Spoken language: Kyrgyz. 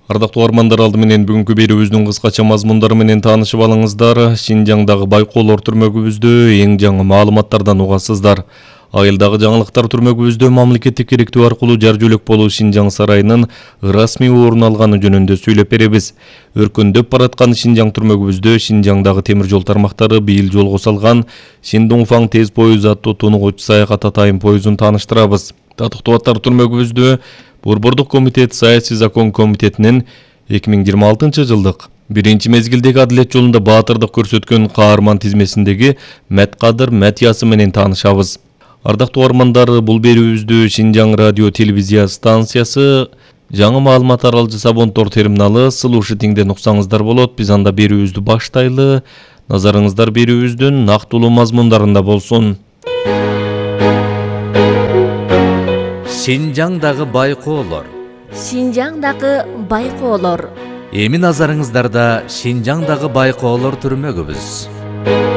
Ардактуу угармандар, алды менен бүгүнкү берүүбүздүн кыскача мазмундары менен таанышып алыңыздар. Шинжаңдагы Байкоолор түрмөгүбүздө эң жаңы маалыматтардан угасыздар. Айылдагы жаңылыктар түрмөгүбүздө мамлекеттик керектөө аркылуу жар жөлөк болуу Шинжаң сарайынын расмий орун алганы жөнүндө сүйлөп беребиз. Өркөндөп бараткан Шинжаң түрмөгүбүздө Шинжаңдагы темир жол тармактары быйыл жолго салган Шиндунфаң тез поезу аттуу тунугуч саякат атайын поезун тааныштырабыз. Татыктуу аттар түрмөгүбүздө Борбордук комитет саясий закон комитетинин 2026 жылдык биринчи мезгилдеги адилет жолунда баатырдык көрсөткөн каарман тизмесиндеги Мәткадыр Мәтиясы менен таанышабыз. Ардактуу угармандар, бул берүүбүздү Шинжаң радио телевизия станциясы, жаңы маалымат аралжы Сабонтор терминалы Слушатиңден уксаңыздар болот. Биз анда берүүбүздү баштайлы. Назарыңыздар берүүбүздүн нактылуу мазмундарында болсун. Шинжаңдагы Байкоолор. Шинжаңдагы Байкоолор. Эми назарыңыздарда Шинжаңдагы Байкоолор түрмөгүбүз.